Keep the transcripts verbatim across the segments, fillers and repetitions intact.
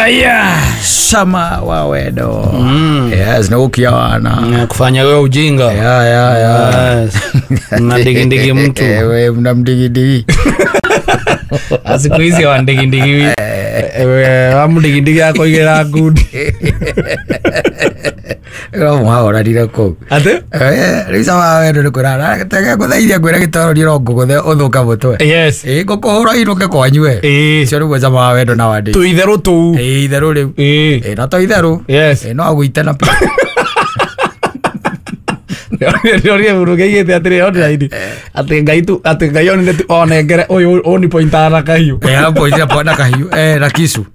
Aya, sama wa wendo. Mm. Yes, na wana. Kufanya wewe ujinga. Ya ya ya. Yes. Mnandigindigi mtu. Wewe mnamdigindigi. Siku hizi wandigindigi. Ewe amdigindigi yako igera good. Ro mwaora ndire kuu. Ate? Eh, riu sama wendo ni kurara. Tege guthaithia ngwira gitoro ndiro nguguthe uthuka mutwe. Yes. Eh, ngukuhura inuke kwanyue. Eh, cio niguo sama wa wendo na wandi. Tu itheru tu. Eh, itheru riu. Eh. Eh, no to itheru. Yes. Eh, no aguite na. Ndio murugeigite atiri online. Ati ngai tu ati ngai onire tu onengere uyu oni pointara na kahiu. Eh, pointara po na kahiu. Eh, na kisu.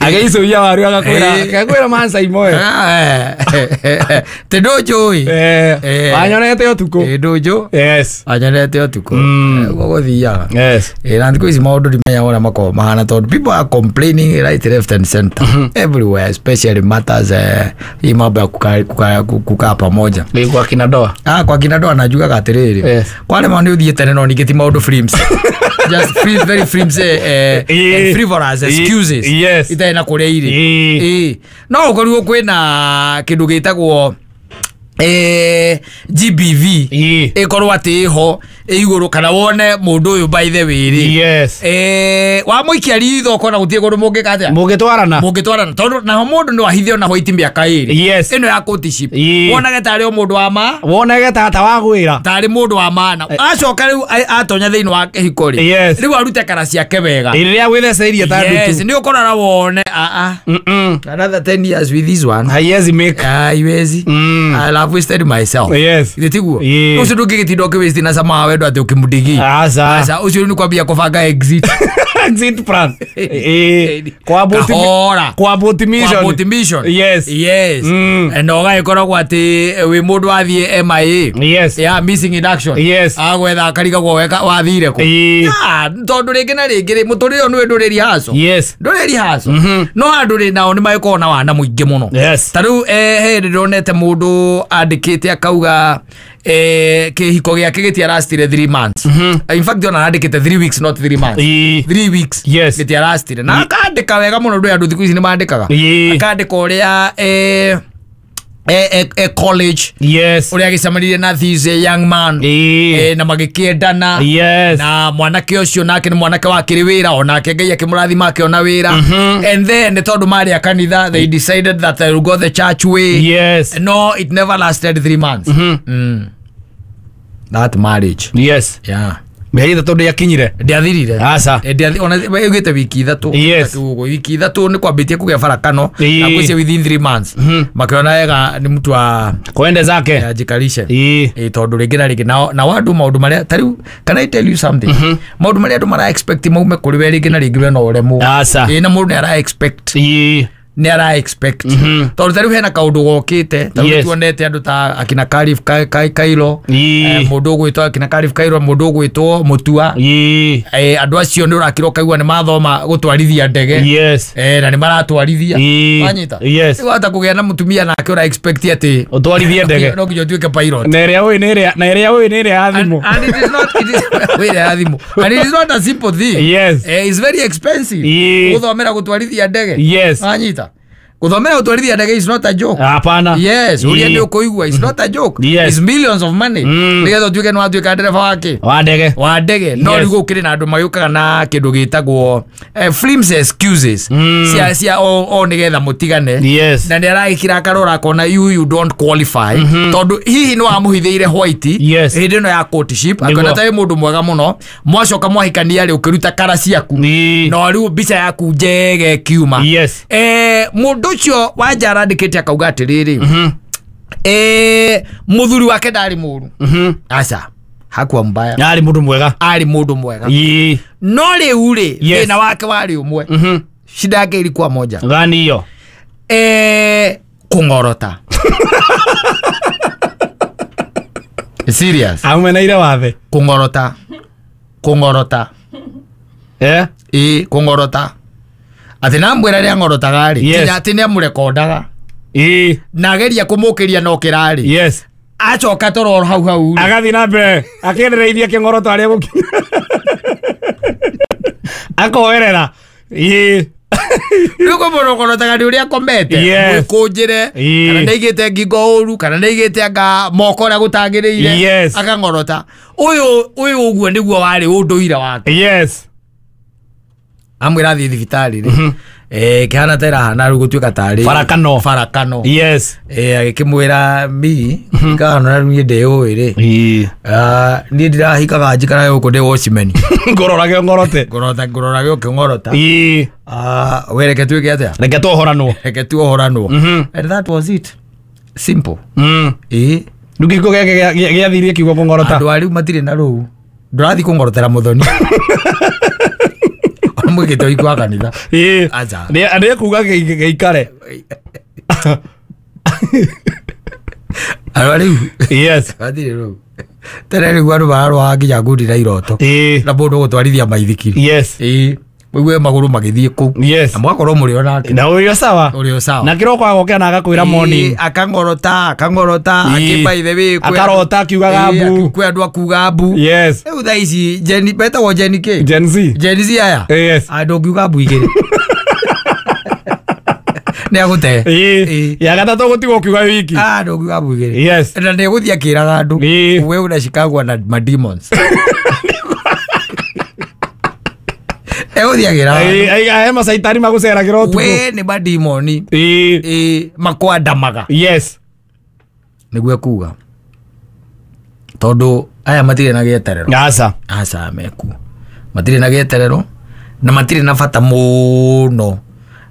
Ageicu ya waru agakwira agakwira mansa imoe. Eh. Te ndunjui. Eh. Wanyonete utuku. Eh, ndunju. Yes. Wanyonete utuku. Uguo guthiaga. Yes. Eh, na thiku ici maundu ndimenya uria makoragwo mahana tondu people are complaining right left and center. Everywhere, especially matters eh hii mambo ya kukaa kukaa pamoja. Ni kwa kina doa. Ah, kwa kina doa najugaga atiriri. Yes. Kwa rema ni uthie tene no ningĩ ti maundu frames. Just free, very frames eh, eh, frivolous excuses. Yes. Itarĩ na kũrĩa irĩ. Eh. No ũkorirwo kwĩna kĩndũ gĩtagwo eh G B V ikorwo atĩ ĩho igũrũ kana wone mũndũ ũyũ by the way rĩ. Yes. Eh wamũikia ritho ũkona gũtirĩ kũndũ mũngĩka atĩa mũngĩtwarana mũngĩtwarana tondũ naho mũndũ no ahithe ona hwaiti mĩaka ĩrĩ. Yes. Ĩno ya courtship wonage tarĩ o mũndũ wa ma wonage tata wa gwĩra tarĩ mũndũ wa maana acoka rĩu atonya thĩinĩ wa kĩhiko rĩ. Yes. Rĩu arute kara ciake wega rĩrĩa gwĩtheceirie ta ndutu. Yes, nĩ ũkorora wone a a another ten years with this one haiwezi make haiwezi. I've wasted myself. Yes. Itiguo. Ucio ndũngĩgĩtinda ũkĩwaste na sama wa wendo atĩ ũkĩmũndigi. Aca. Aca ucio nĩ kwambia kũbanga exit. Exit plan. Eh. Kwa Kwa mission. Kwa mission. Yes. Yes. Mm. Na ũgagĩkoragwo atĩ wĩ mũndũ wathiĩ M I A. Yes. Yeah, missing in action. Yes. Agwetha akarigagwo weka wathire kũ. Ah, tondũ rĩngĩ na rĩngĩ rĩ mũtũrĩre ũyũ nĩwe ndũrĩ rehearsal. Yes. Ndũrĩ rehearsal. No andũ rĩ nao nĩ magĩkoragwo na wana mũingĩ mũno. Yes. Ta rĩu eh he ndĩronete mũndũ andĩkĩte akauga eh kĩhiko gĩake gĩtiarastire three months. In fact ona andĩkĩte three weeks not three months. three weeks. Yes. Gĩtiarastire. Na akandĩka wega mũno ndũ andũ thikũ ici nĩ mandĩkaga. Akandĩka ũrĩa eh eh eh college. Yes. Ũrĩa agĩcemanirie na this young man. Eh na magĩkĩendana. Yes. Na mwanake ũcio nake nĩ mwanake wakĩrĩ wĩra onake Ngai akĩmũrathima akĩona wĩra. And then tondũ marĩ a kanitha they decided that they will go the church way. Yes. No, it never lasted three months. Mm. That marriage. Yes. Yeah. Mĩeri ĩtatũ ndĩakinyire. Ndĩathirire. Aca. Ndĩathi ona ĩugĩte wiki ithatũ. Yes. Wiki ithatũ nĩ kwambĩtie kũgĩa barakano na kwĩcia within three months. Makĩona wega nĩ mtu wa kwende zake. Ajikarishe. Ĩĩ. Tondũ rĩngĩ na rĩngĩ na na andũ maũndũ marĩa ta rĩu can I tell you something? Maũndũ marĩa andũ mara expect maume kũrĩ we rĩngĩ na rĩngĩ we no ũremwo. Aca. Ĩĩ na mũndũ nĩ ara expect. Ĩĩ. Nĩ ara expect. Tondũ ta rĩu hena kaũndũ gokĩte ta rĩu tuonete andũ ta akina Karif Kairo, mũndũ ũgwĩtwo akina Karif Kairo, mũndũ ũgwĩtwo Mutua. Eh andũ acio nĩ ũrakĩrwo kaigua nĩ mathoma gũtwarithia ndege. Yes. Eh na nĩ maratwarithia. Wanyita. Yes. Rĩu hata kũgĩa na mũtumia nake ũra expect atĩ ũtwarithie ndege. No nginya ũtuĩke pilot. Na ĩrĩa ũĩ nĩ ĩrĩa na ĩrĩa ũĩ nĩ ĩrĩa ya thimũ. And it is not it is wĩra ya thimũ. And it is not a simple thing. Yes. Eh it's very expensive. Gũthomera gũtwarithia ndege. Yes. Wanyita. Gũthomera gũtwarithia ndege is not a joke. Hapana. Yes, ũrĩa nĩ ũkũigua is not a joke. Yes. It's millions of money. Nĩgetha ũtuĩke nĩ watuĩka ndereba wake. Wa ndege. Wa ndege. No rĩu gũkĩrĩ na andũ magĩũkaga na kĩndũ gĩtagwo flimsy excuses. Cia cia o o nĩgetha mũtigane. Yes. Na nĩ aragĩkira akarora akona you you don't qualify. Tondũ hihi nĩ wamũhithĩire white. Yes. Hĩndĩ ĩno ya courtship akona ta wĩ mũndũ mwega mũno. Mwacoka mwahikania rĩ ũkĩruta kara ciaku. No rĩu mbica yaku njege ĩkiuma. Yes. Eh mũndũ ũcio wanja arandĩkĩte akauga atĩrĩrĩ eh mũthuri wake ndarĩ mũru. Aca hakuwa mbaya. Arĩ mũndũ mwega. Arĩ mũndũ mwega. Ĩĩ. No rĩu rĩ thĩna wake warĩ ũmwe. Shida yake ilikuwa moja. Gani hiyo? Eh kũng'orota. Serious. Aumenaire wathe. Kũng'orota. Kũng'orota. Eh? Ĩĩ kũng'orota. Atĩ namwĩra rĩrĩa ng'orotaga rĩ nginya atĩ nĩamũrekondaga. Ĩĩ. Na ageria kũmũkĩria no kĩrarĩ. Yes. Acoka toro hau hau. Agathiĩ na mbere akĩendereirie kĩng'oroto arĩa gũkinya. Akoerera. Ĩĩ. Rĩu kwĩ mũndũ ũng'orotaga nĩ ũrĩa akomete mwĩkũnjĩre kana nĩaigĩte ngingo ũru kana nĩaigĩte anga moko ũrĩa gũtagĩrĩire Yes. akang'orota. Ũyũ ũyũ ũguo nĩguo warĩ ũndũire wake. Yes. Amwĩra athiĩ thibitarĩ rĩ eh kĩhana ta ĩrahana rĩu gũtuĩka tarĩ Barakano. barakano. Yes. Eh agĩkĩmwĩra mi kahana rĩu niĩ ndĩũĩ rĩ Ĩĩ. Ah, niĩ ndirahikaga njikaraga gũkũ ndĩ watchman. Ngororage ngorote. Ngorota ngororage ũkĩng'orota. Ĩĩ. Ah, we reke tuĩke atĩa? Reke tuohoranwo. Reke tuohoranwo. Mhm. And that was it. Simple. Mm. Ĩĩ. Rĩu kĩhiko gĩake gĩathirie kiugo kũng'orota. Andũ a rĩu matirĩ na rũu. Ndũrathiĩ kũng'orotera mũthoni. Ona mwĩkĩte ũhiki wa kanitha. Ĩĩ. Aca. Nĩ nĩ kuga gĩikare. Andũ a rĩu Yes. matirĩ rũu. Tene rĩu andũ mararwaga nginya ngundi na iroto. Ĩĩ. Na mũndũ ũgũtwarithia maithikiri. Yes. Ĩĩ. Mũigue magũrũ magĩthiĩ kũu. Yes. Na mũgakorwo mũrĩ o nake. Na ũrĩ o sawa. Ũrĩ o sawa. Na kĩroko agokĩra na agakwĩra morning. Ĩĩ, akang'orota akang'orota Ĩĩ. akĩmba ithe wĩ kwĩ Akarota akiugaga Ĩĩ, mbu. kwĩ andũ akuga mbu. Yes. Rĩu thaa ici Gen betagwo Gen kĩ? Gen Z. Gen Z aya. Yes. Ah, ndũngiuga mbu igĩrĩ. Nĩ agũte. Ĩĩ. Ĩĩ. Ya gatatũ gũtigwo ũkiuga wiki. Ah, ndũngiuga mbu igĩrĩ. Yes. Na nĩ egũthiĩ akĩraga andũ. Ĩĩ. We unashikagwa na mademons. Egũthiĩ akĩraga andũ. Ĩĩ, he macaitani magũceragĩra ũtukũ. We nĩ mademoni. Ĩĩ. Ĩĩ, makwandamaga. Yes. Nĩguo ekuga. Tondũ aya matirĩ na gĩeterero. Aca. Aca mekuo. Matirĩ na gĩeterero na matirĩ na bata mũno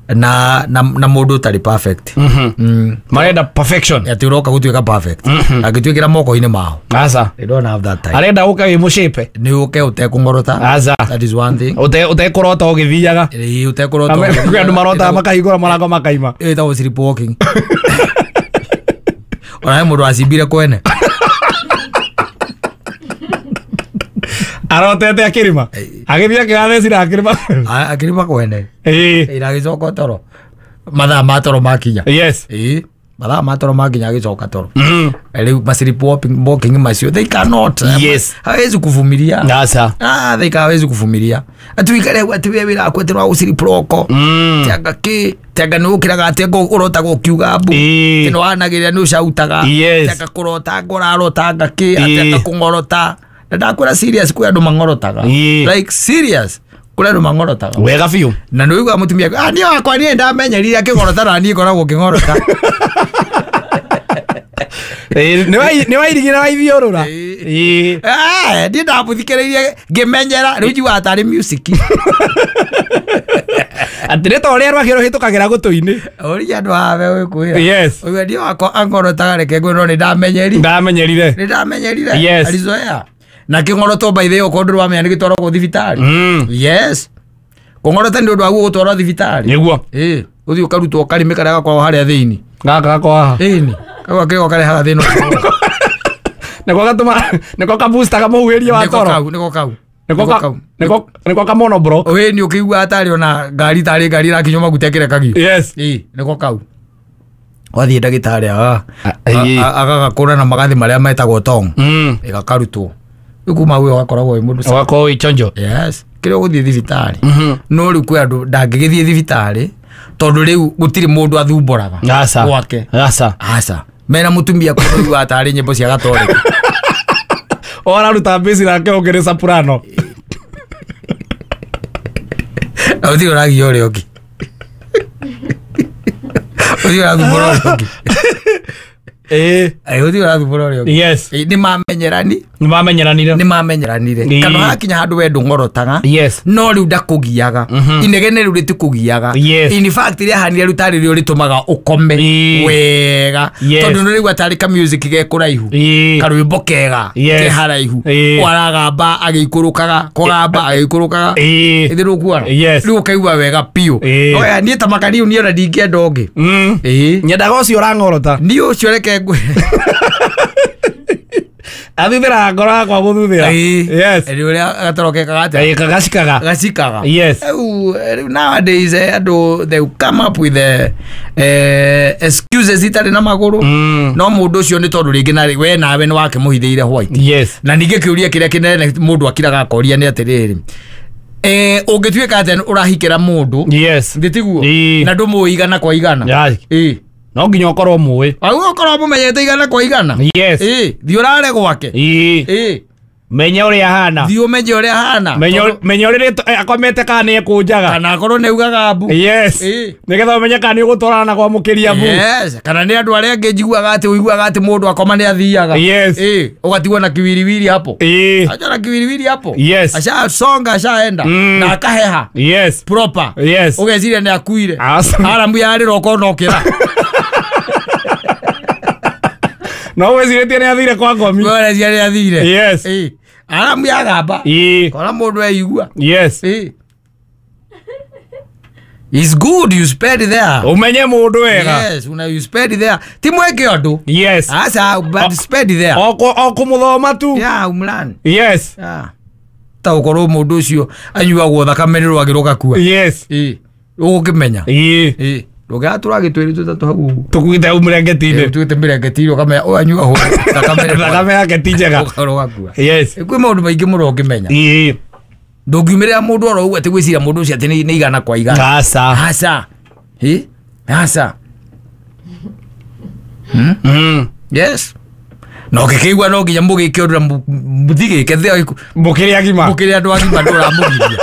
na na na mũndũ ũtarĩ perfect. Mhm. Mm. Marenda perfection. Atĩ ũroka gũtuĩka perfect. Angĩtuĩkĩra moko-inĩ mao. Aca. They don't have that time. Arenda ũke wĩ mũcape. Nĩ ũke ũtekũng'orota. Aca. That is one thing. Ũte ũtekũrota ũgĩthiaga. Ĩĩ, ũtekũrota. Kwĩ andũ marotaga makahingũra mũrango makaima. Ĩyo ĩtagwo sleepwalking. Ona he mũndũ wacimbire kwene. Arotete akĩrĩma. Agĩthiĩ akĩrathecira akĩrĩma. A- Akĩrĩma kwene. Ĩĩ. Ĩĩ, na agĩcoka toro. Mathaa ma toro makinya. Yes. Ĩĩ, mathaa ma toro makinya agĩcoka toro. Mm. Rĩu ma sleepwalking walking macio they cannot. Yes. Hawezi kuvumilia. Aca. Ah, they hawezi kuvumilia. Ati wikare ati we wĩra waku atĩ nĩwagũciripuroko. Mm. Tianga kĩ, tianga nĩ ũkĩraga atĩ ũrotaga ũkiuga mbu. Ĩĩ. Atĩ nĩwanagĩrĩra nĩ ũcautaga. Yes. Tianga kũrotanga ũrarotanga kĩ, Ĩĩ. atĩ anga kũng'orota. Na ndakwĩra serious kwĩ andũ mang'orotaga. Ĩĩ. Like serious kũrĩ andũ mang'orotaga. Wega biũ. Na nĩ ũiguaga mũtumia akiuga, ah, niĩ wakwa niĩ ndamenyerire akĩng'orota na niĩ ngoragwo ngĩng'orota. Ĩĩ, nĩ wairigĩra waithiũrũra. Ĩĩ. Ĩĩ. Eh, niĩ ndamũthikĩrĩirie ngĩmenyera rĩu njiguaga tarĩ music. Atĩ nĩ ta ũrĩa rwagĩ rũhĩtũkagĩra gũtũ-inĩ. Ũria andũ haha megũkwĩra. Yes. Ũigue niĩ wakwa ang'orotaga reke ngwĩre no nĩ ndamenyeri. Ndamenyerire. Nĩ ndamenyerire. Yes. Alizoea. Na kĩng'oroto by the way okorwo ndũrĩ wamenya nĩ gĩtwaragwo thibitarĩ. Mm. Yes. Kũng'orota nĩ ũndũ waguo gũtwarwo thibitarĩ. Nĩguo. Ĩĩ, ũthiĩ ũkarutwo karĩmĩ karĩa gakoragwo harĩa thĩinĩ. Gaka gakwa haha. Ĩni. Kau gakĩgo karehaga thĩna ũcio. Nĩko gatũma nĩko kaboostaga mũhuhĩrie wa Nĩko toro. kau, nĩko kau. Nĩko Nĩko ka kau. nĩko nĩko ka monoblock. Ĩĩ nĩ ũkĩiguaga tarĩ ona ngari tarĩ ngari ĩrakinywo maguta ĩkĩrekagio. Yes. Ĩĩ, nĩko kau. Wathiĩ ndagĩtarĩ aga Ĩĩ. agagakũra na magathĩ marĩa metagwo tong. Mm. Ĩgakarutwo. Rĩu kuma hau ũgakoragwo wĩ mũndũ sawa. Ũgakorwo wĩ chonjo. Yes. Kĩrĩa ũgũthiĩ thibitarĩ. Mhm. No rĩu kwĩ andũ ndangĩgĩthiĩ thibitarĩ tondũ rĩu gũtirĩ mũndũ athumbũraga. Aca. Gwake. Aca. Aca. Mena mũtumia kũiguaga tarĩ nyĩmbo cia gatoreki. Ũraruta mbĩci nake ũngĩ nĩ soprano. Na gũtirĩ ũragia ũrĩa ũngĩ. Gũtirĩ ũrathumbũra ũrĩa ũngĩ. Ĩĩ. Ĩ, gũtirĩ ũrathumbũra ũrĩa ũngĩ. Yes. Ĩ, nĩ mamenyerani. Nĩ mamenyeranire. Nĩ mamenyeranire. Ĩĩ. Kana hakinya handũ we ndũng'orotaga. Yes. No rĩu ndakũgiaga. Inegene rĩu rĩtikũgiaga. Yes. In fact rĩahanire rĩu tarĩ rĩo rĩtũmaga ũkome Ĩĩ. wega. Yes. Tondũ nĩ rĩigua tarĩ ka music ge kũraihu. Ĩĩ. Karwĩmbo kega Yes. ke haraihu. Ĩĩ. Waragamba agĩikũrũkaga, kũgamba agĩikũrũkaga. Ĩĩ. Ĩthĩ ndũkuona? Yes. Rĩu ũkaigua wega biũ. Ĩĩ. Oya niĩ ta makariu niĩ ona ndingĩenda ũngĩ. Mm. Ĩĩ. Nyendaga ũcio ũrang'orota. Niĩ ũcio reke ngwĩre. Athuthĩraga ngoro yakwa gũthuthĩra. Ĩĩ. Yes. Nĩ ũrĩa gatoro kekaga atĩa? Ĩĩ, gacikaga. Gacikaga. Yes. Rĩu rĩu nowadays eh, andũ they come up with eh, eh, excuses itarĩ na magũrũ. Mm. No mũndũ ũcio nĩ tondũ rĩngĩ na we nawe nĩ wakĩmũhithĩire white. Yes. Na ningĩ kĩũria kĩrĩa kĩnene mũndũ akiraga akoria nĩ atĩrĩrĩ. Eh ũngĩtuĩka atĩ ũrahikĩra mũndũ. Yes. Ndĩtiguo. Na ndũmũĩ igana kwa igana. Yeah. Ĩĩ. No nginya ũkorwo mũĩ. Au ũkorwo mũmenyete igana kwa igana. Yes. Ĩĩ, thiĩ ũrare gwake. Ĩĩ. Ĩĩ. Menya ũrĩa ahana. Thiĩ ũmenye ũrĩa ahana. Menya ũrĩa akomete kana nĩ ekũnjaga. Kana akorwo nĩ augaga mbu. Yes. Ĩĩ. Nĩgetha ũmenye kana nĩ ũgũtwarana na kwamũkĩria mbu. Yes. Kana nĩ andũ arĩa angĩ njiguaga atĩ ũiguaga atĩ mũndũ akoma nĩ athiaga. Yes. Ĩĩ, ũgatigwo na kiwiriwiri hapo. Ĩĩ. Acha na kiwiriwiri hapo. Yes. Ashasonga ashaenda. Mm. Na akaheha. Yes. Proper. Yes. Ũgeciria nĩ akuire. Awesome. Aramu yarĩra ũkona ũkĩra. No wecirĩtie nĩ athire kwa ngomi. Weciria nĩ athire. Yes. Ĩĩ. Aramu yagamba. Ĩĩ. Kora mũndũ eigua. Yes. Ĩĩ. It's good you spend there. Umenye mũndũ wega. Yes, una you spend there. Ti mweke ũndũ. Yes. Asa but spend there. O o kũmũthoma tu. Yeah, umlan. Yes. Yeah. Ta ũkorwo mũndũ ũcio anyuagwo thakame nĩ rwagĩ rũgakua. Yes. Ĩĩ. Ũgũkĩmenya. Ĩĩ. Ĩĩ. Ndũgatũra gĩtwĩrĩ tũtatũ hau ũguo. Tũkuĩte hau mũrengeti-inĩ. Tũkuĩte mĩrengeti-inĩ ũkamenya ũyũ anyuagwo thakame thakame yake ti njega. Rũgakua. Yes. Kwĩ maũndũ maingĩ mũno ũngĩmenya. Ĩĩ. Ndũngiumĩrĩra mũndũ oro ũguo atĩ gwĩciria mũndũ ũcio atĩ nĩ igana kwa igana. Aca. Aca. Ĩ? Aca. Hmm? Mm. Yes. Na ũngĩkĩigua no nginya mũgĩke ũndũ na mũthigĩke thĩ mũkĩrĩ agima. Mũkĩrĩ andũ agima ndũramũgiria.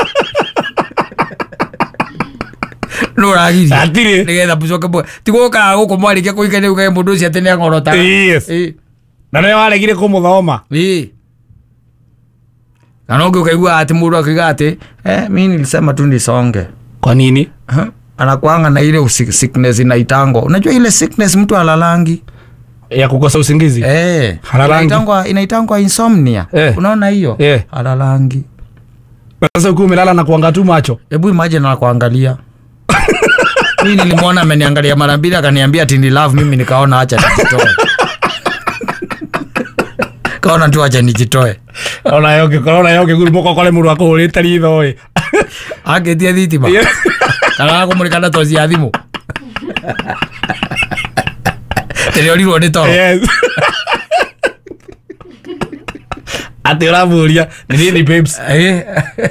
No ũragiria. Hatirĩ. Nĩgetha mũcoke mũ ti gũkaga gũkũ mwarĩkia kũhikania ũkage mũndũ ũcio atĩ nĩang'orotaga. Yes. Ĩ. Na nĩwe waregire kũmũthoma. Ĩ. Na no ũkaigua atĩ mũndũ akiuga atĩ eh mimi nilisema tu nisonge. Kwa nini? Huh? Anakuanga na ile sickness inaitangwa. Unajua ile sickness mtu alalangi ya kukosa usingizi. Eh. Halalangi. Inaitangwa inaitangwa insomnia. Eh. Unaona hiyo? Eh. Halalangi. Sasa ukiwa umelala na kuanga tu macho. Hebu imagine anakuangalia. Mimi nilimwona ameniangalia mara mbili akaniambia ati ni love, mimi nikaona acha nijitoe. Kaona tu acha nijitoe. Ona yo ngĩkorwo yo ngĩgurumũka ũkore mũndũ akũhũrĩte ritho ĩ. Akĩtie thitima. Kana akũmũrĩka na toci ya thimũ. Tĩrĩorirwo nĩ toro. Yes. Ati ũramũria ni nini babes? Eh.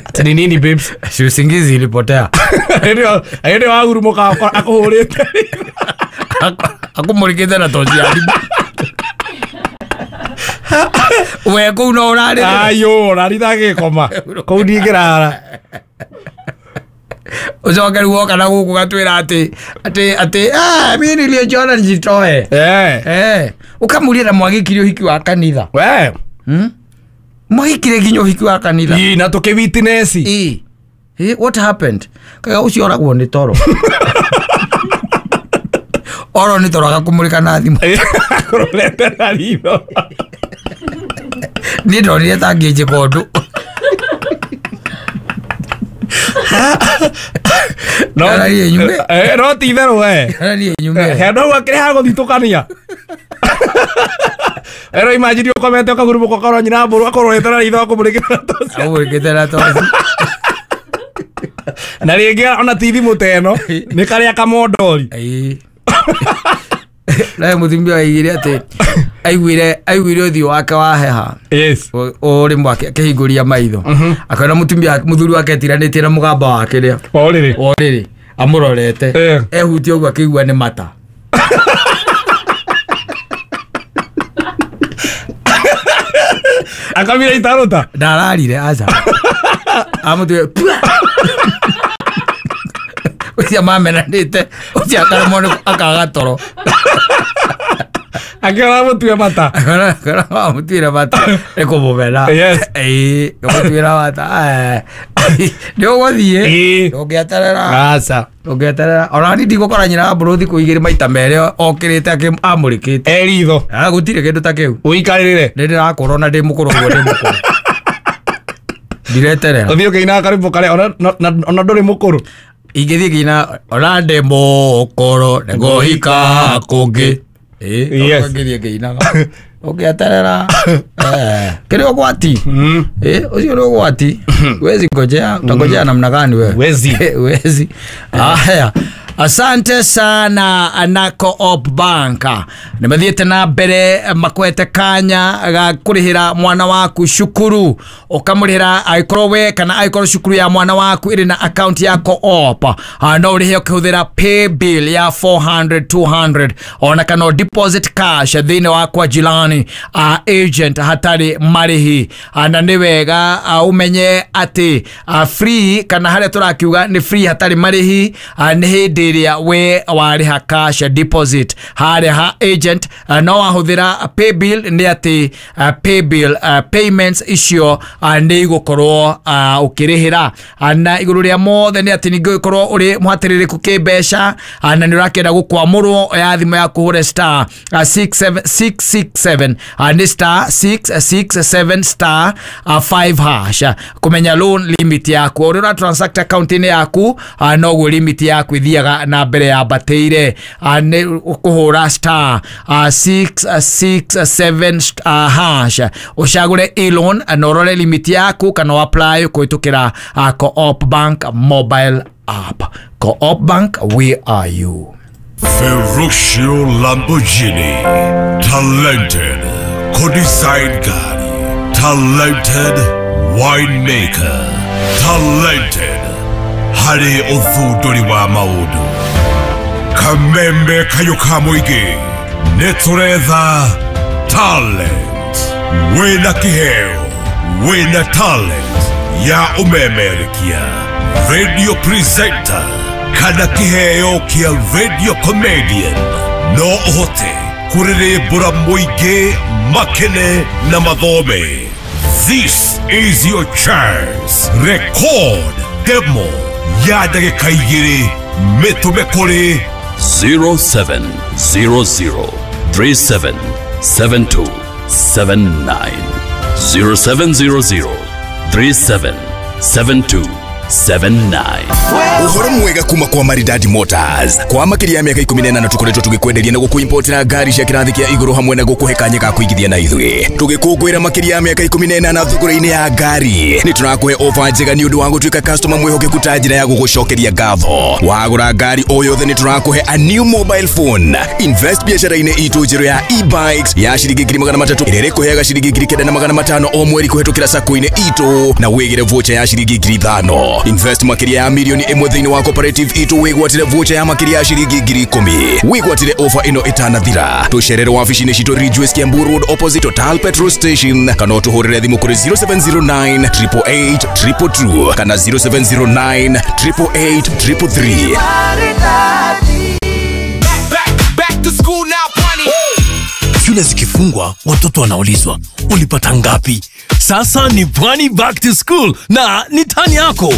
Ati ni nini babes? Si usingizi ilipotea. Ndio, ndio wagurumũka akũhũrĩte. Akũmũrĩkĩte na toci ya thimũ. We kũu no ũrarĩrĩra. Ayo, ũrarira gĩkoma. Kũu ndingĩrara. Ũcoke rĩu woka na gũkũ gatwĩra atĩ atĩ atĩ ah mimi nilijiona nijitoe. Eh. Eh. Ũkamũria na mwagĩkire ũhiki wa kanitha. We. Hmm? Mwagĩkire nginya ũhiki wa kanitha. Ĩ na tũkĩ witness. Ĩ. Eh, what happened? Kaga ũcio oragwo nĩ toro. Oro nĩ toro agakũmũrĩka na thimũ. Akũrorete na ritho. Niĩ ndonire ta ngĩnjĩka ũndũ. No Ararie nyume. Eh, no ti itherũ we. Ararie nyume. He no akĩrĩ ha gũthitũkania. Ero imagine ũkomete ũkagurumũka ũkorwo nyina mbũrũ akũrorete na ritho akũmũrĩkĩte na toci. Akũmũrĩkĩte na toci. Na rĩngĩ ona ti thimũ ta ĩno nĩ karĩa kamondori. Ĩĩ. Nawe mũtumia aigire atĩ aiguire aiguire ũthiũ wake waheha. Yes. O rĩmwe akĩhingũria maitho. Akona mũtumia mũthuri wake etiranĩtie na mũgamba wake rĩa. O rĩrĩ. O rĩrĩ amũrorete. Ehutie ũguo akĩigua nĩ mata. Akamira itarũta. Ndararire aca. Amũtuire ũcio mamenanĩte ũcio akaremwo nĩ akaga toro. Akĩona mũtue mata. Akĩona mamũtuire mata nĩ kũmũmena. Yes. Ĩĩ kũmũtuĩra mata. Nĩ ũgũthiĩ. Ĩĩ. Ndũngĩeterera. Aca. Ndũngĩeterera. Ona niĩ ndigũkora nyina wa mbũrũ thikũ igĩrĩ maita merĩ okĩrĩte amũrĩkĩte. E ritho. Gũtirĩ kĩndũ ta kĩu. Ũikarĩrĩre. Nĩ ndĩrakũra ona ndĩ mũkũrũ ũguo ndĩ mũkũrũ. Ndireterera. Ũthiĩ ũkĩinaga karwĩmbo karĩa ona ndũrĩ mũkũrũ. Ingĩthiĩ ngĩina ona ndĩ mũkũrũ nĩngũhika kũngĩ. Ĩĩ ngĩthiĩ ngĩinaga. Ũngĩeterera. Kĩrĩ ũgwati. Ĩĩ ũcio nĩ ũgwati. Wezi ngojea, utangojea namna gani wewe? Wezi. Wezi. Haya. Asante sana na Co-op Bank. Nĩ mathiĩte na mbere makwete kanya ga kũrĩhĩra mwana waku cukuru, ũkamũrĩhĩra angĩkorwo we kana angĩkorwo cukuru ya mwana waku ĩrĩ na account ya Co-op, no ũrĩhe ũkĩhũthĩra pay bill ya four hundred two hundred ona kana deposit cash thĩinĩ wa kwa jirani uh, agent hatarĩ marĩhi. Na nĩ wega uh, ũmenye atĩ uh, free kana harĩa tũrakiuga nĩ free hatarĩ marĩhi uh, nĩ hĩndĩ ĩrĩa we warĩha cash deposit harĩa ha agent. uh, no wahũthĩra pay bill nĩ atĩ uh, pay bill uh, payments icio uh, nĩ igũkorwo uh, ũkĩrĩhĩra. uh, na igũrũ rĩa mothe nĩ atĩ ningĩ ũgĩkorwo ũrĩ mũhatĩrĩrĩku kĩmbeca uh, na nĩ ũrakĩenda gũkwamũrwo ya thimũ yaku hũre star uh, six seven six six seven uh, nĩ star six six seven star uh, five hash uh, kũmenya loan limit yaku. Ũrĩa ũra transact account-inĩ yaku uh, noguo limit yaku ithiaga na mbere yambatĩire. uh, nĩ ũkũhũra star uh, six six seven uh, hash ũcagũre e-loan na ũrore limit yaku kana apply kũhĩtũkĩra uh, Co-op Bank mobile app. Co-op Bank, we are you. Ferruccio Lamborghini, talented co-design gari, talented winemaker, talented harĩ ũthundũri wa maũndũ. Kamembe kayũ ka mũingĩ nĩ tũretha talent. Wĩna kĩheo, wĩna talent ya ũmemerekia, radio presenter kana kĩheo kĩa radio comedian, no ũhote kũrĩrĩmbũra mũingĩ makene na mathome. This is your chance. Record demo ya ndagĩka igĩrĩ mĩtũme kũrĩ zero seven zero zero three seven seven two seven nine zero seven zero zero three seven seven two seven nine. Uhoro mwega kuma kwa Maridadi Motors. Kwa makĩria ya mĩaka ikũmi na ĩnana tũkoretwo tũgĩkwenderia na gũkũimportera ngari cia kĩrathi kĩa igũrũ hamwe na gũkũhe kanya ga kũigithia na ithuĩ. Tũgĩkũngũĩra makĩria ya mĩaka ikũmi na ĩnana thogora-inĩ ya ngari. Nĩ tũrakũhe ofa njega nĩ ũndũ wa gũtuĩka customer mwĩhokeku ta njĩra ya gũgũcokeria ngatho. Wagũra ngari o yothe nĩ tũrakũhe a new mobile phone. Invest biacara-inĩ itũ njerũ ya e-bikes ya ciringi ngiri magana matatũ ĩrĩa ĩrĩkũheaga ciringi ngiri kenda na magana matano o mweri kũhetũkĩra sacco-inĩ itũ na wĩgĩre voucher ya ciringi ngiri ithano. Invest makĩria ya milioni ĩmwe thĩinĩ wa cooperative itũ wĩgwatĩre voucher ya makĩria ya ciringi ngiri ikũmi. Wĩgwatĩre ofa ĩno ĩtanathira. Tũcerere wabici-inĩ citũ Ridgeways Kiambu Road opposite Total Petrol Station kana ũtũhũrĩre thimũ kũrĩ zero seven zero nine triple eight triple two kana zero seven zero nine triple eight triple three. Shule zikifungwa watoto wanaulizwa ulipata ngapi? Sasa ni Pwani Back to School na ni tani yako.